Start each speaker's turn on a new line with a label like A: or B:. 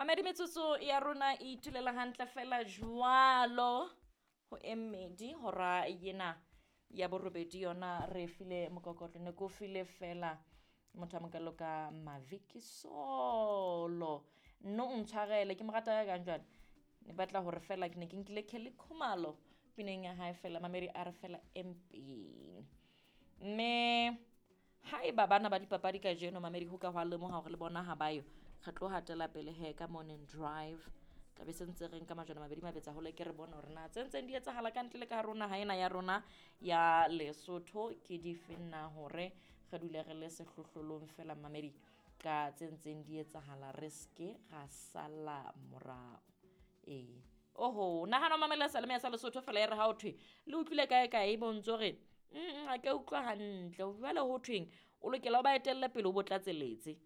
A: Mamedi, metsotso ya rona e itulela hantle fela jwalo ho e mmedi hora yena ya borobedi. Yona re file mokokotlo, ne ko file fela motho a mokalo ka Maviki Solo. Nno o ntshwarele, ke mo rata ka kang jwale, ne batla hore fela ke ne ke nkile Kelly Khumalo pineng ya hae fela. Mamedi a re fela empeng, mme haeba bana ba dipapadi kajeno, mamedi, ho ka hwa lemoha hore le bona ha ba yo, re tlo hatela pele he ka morning drive. Tlabe se ntse re nka majwana mabedi mabetsa hole, ke re bone hore na tse ntseng di etsahala ka ntle le ka rona ha ena ya rona ya Lesotho ke dife na, hore re dule re le sehlohlolong fela, mamedi, ka tse ntseng di etsahala, re seke ra sala morao. Ee, oho, nahana o mamela seyalemoya sa Lesotho fela, e re ha o thwe le utlwile kae kae, bo ntso re ha ke utlwa hantle. Jwale ho thweng o lokela o ba etelle pele, o bo tlatseletse.